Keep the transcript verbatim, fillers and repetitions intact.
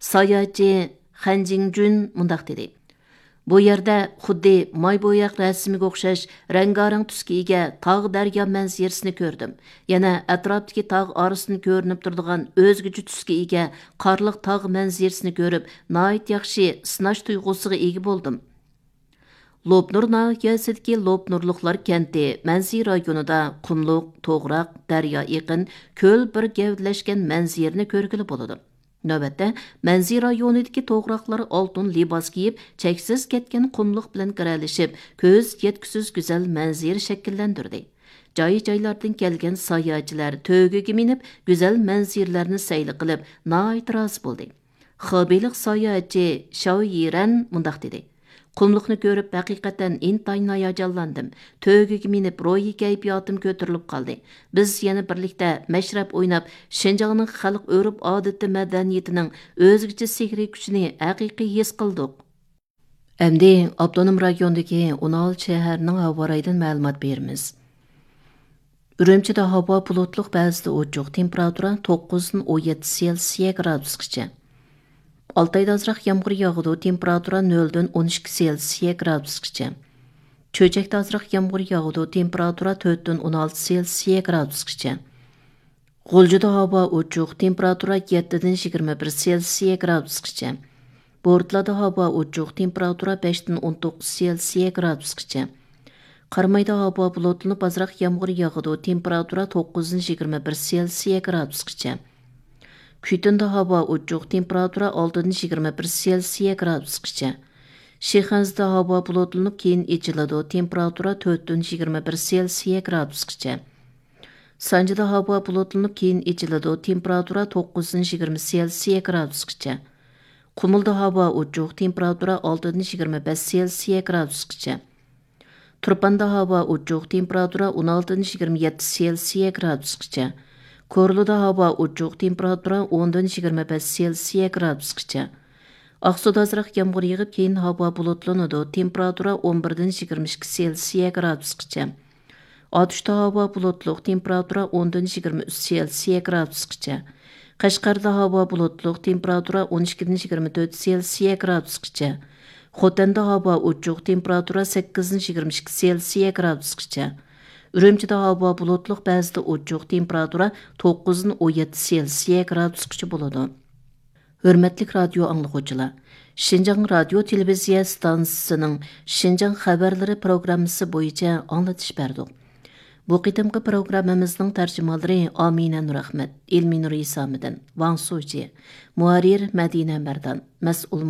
ساياھەتچى خەن جىڭجۈن مۇنداق دېدى: بۇ يەردە خۇددى ماي بوياق رەسىمىگە ئوخشاش رەڭگارەڭ تۈسكە ئىگە تاغ دەريا مەنزىرىسىنى كۆردۈم. يەنە ئەتراپتىكى تاغ ئارىسىدىن كۆرۈنۈپ تۇرىدىغان ئۆزگىچە تۈسكە ئىگە قارلىق تاغ مەنزىرىسىنى كۆرۈپ، ناھايىتى ياخشى سىناش تۇيغۇسىغا ئىگە بولدۇم. لوپنۇر ناھىيەسىدىكى لوپنۇرلۇقلار كەنتى مەنزىرە رايونىدا قۇملۇق، توغراق، دەريا ئېقىن، كۆل بىر گەۋدىلەشكەن مەنزىرىنى كۆرگىلى بولىدۇ. نۆۋەتتە، مەنزىرە رايونىدىكى توغراقلار ئالتۇن لىباس كىيىپ، چەكسىز كەتكەن قۇملۇق بىلەن گىرەلىشىپ، كۆز يەتكۈسىز گۈزەل مەنزىرە شەكىللەندۈردى. جاي-جايلاردىن كەلگەن ساياھەتچىلەر تۆگىگە مىنىپ، گۈزەل مەنزىرىلەرنى سەيلە قىلىپ، ناھايىتى رازى بولدى. خېبېيلىق ساياھەتچى شاۋ يىرەن مۇنداق دېدى: قۇملۇقنى كۆرۈپ، ھەقىقەتەن ئىنتايىن ھاياجانلاندىم. تۆگىگە مىنىپ، روھىي كەيپىياتىم كۆتۈرۈلۈپ قالدى. بىز يەنە بىرلىكتە مەشرەپ ئويناپ، شىنجاڭنىڭ خەلق ئۆرپ-ئادىتى، مەدەنىيىتىنىڭ ئۆزگىچە سېھرىي كۈچىنى ھەقىقىي ھېس قىلدۇق. ئەمدى ئاپتونوم رايوندىكى ئون ئالتە شەھەرنىڭ ھاۋا رايىدىن مەلۇمات بېرىمىز. ئۈرۈمچىدە ھاۋا بۇلۇتلۇق، بەزىدە ئوچۇق، تېمپېراتۇرا توققۇزدىن ئون يەتتە سېلسىيە گرادۇسقىچە. ئالتايدا ئازراق يامغۇر ياغىدۇ، تېمپېراتۇرا نۆلدىن ئون ئىككى سېلسىيە گرادۇسقىچە. چۆچەكتە ئازراق يامغۇر ياغىدۇ، تېمپېراتۇرا تۆتتىن ئون ئالتە سېلسىيە گرادۇسقىچە. غۇلجىدا ھاۋا ئوچۇق، تېمپېراتۇرا يەتتىدىن يىگىرمە بىر سېلسىيە گرادۇسقىچە. بورتالادا ھاۋا ئوچۇق، تېمپېراتۇرا بەشتىن ئون توققۇز سېلسىيە گرادۇسقىچە. قارامايدا ھاۋا بۇلۇتلىنىپ، ئازراق يامغۇر ياغىدۇ، تېمپېراتۇرا توققۇزدىن يىگىرمە بىر سېلسىيە گرادۇسقىچە. كۈيتۇندا ھاۋا ئوچۇق، تېمپېراتۇرا ئالتىدىن يىگىرمە بىر سېلسىيە گرادۇسقىچە. شىخەنزىدە ھاۋا بۇلۇتلىنىپ، كېيىن ئېچىلىدۇ، تېمپېراتۇرا تۆتتىن يىگىرمە بىر سېلسىيە گرادۇسقىچە. سانجىدا ھاۋا بۇلۇتلىنىپ، كېيىن ئېچىلىدۇ، تېمپېراتۇرا توققۇزدىن يىگىرمە سېلسىيە گرادۇسقىچە. قۇمۇلدا ھاۋا ئوچۇق، تېمپېراتۇرا ئالتىدىن يىگىرمە بەش سېلسىيە گرادۇسقىچە. تۇرپاندا ھاۋا ئوچۇق، تېمپېراتۇرا ئون ئالتىدىن يىگىرمە يەتتە سېلسىيە گرادۇسقىچە. كورلىدا ھاۋا ئوچۇق، تېمپېراتۇرا ئوندىن يىگىرمە بەش سېلسىيە گرادۇسقىچە. ئاقسۇدا ئازراق يامغۇر يېغىپ، كېيىن ھاۋا بۇلۇتلىنىدۇ، تېمپېراتۇرا ئون بىردىن يىگىرمە ئىككى سېلسىيە گرادۇسقىچە. ئاتۇشتا ھاۋا بۇلۇتلۇق، تېمپېراتۇرا ئوندىن يىگىرمە ئۈچ سېلسىيە گرادۇسقىچە. قەشقەردە ھاۋا بۇلۇتلۇق، تېمپېراتۇرا ئون ئىككىدىن يىگىرمە تۆت سېلسىيە گرادۇسقىچە. خوتەندە ھاۋا ئوچۇق، تېمپېراتۇرا سەككىزدىن يىگىرمە ئىككى سېلسىيە گرادۇسقىچە. ئۈرۈمچىدە ھاۋا بۇلۇتلۇق، بەزىدە ئوچۇق، تېمپېراتۇرا توققۇزدىن ئون يەتتە سېلسىيە گرادۇسقىچە بولىدۇ. ھۆرمەتلىك رادىيو ئاڭلىغۇچىلار! شىنجاڭ رادىيو تېلېۋىزىيە ئىستانسىسىنىڭ شىنجاڭ خەۋەرلىرى پروگراممىسى بويىچە ئاڭلىتىش بەردۇق. بۇ قېتىمقى پروگراممىمىزنىڭ تەرجىمانلىرى ئامىنە نۇرئەخمەت، ئىلمىنۇر ئىسامىدىن، ۋاڭ سۇجى، مۇھەررىر مەدىنە مەردان، مەسئۇل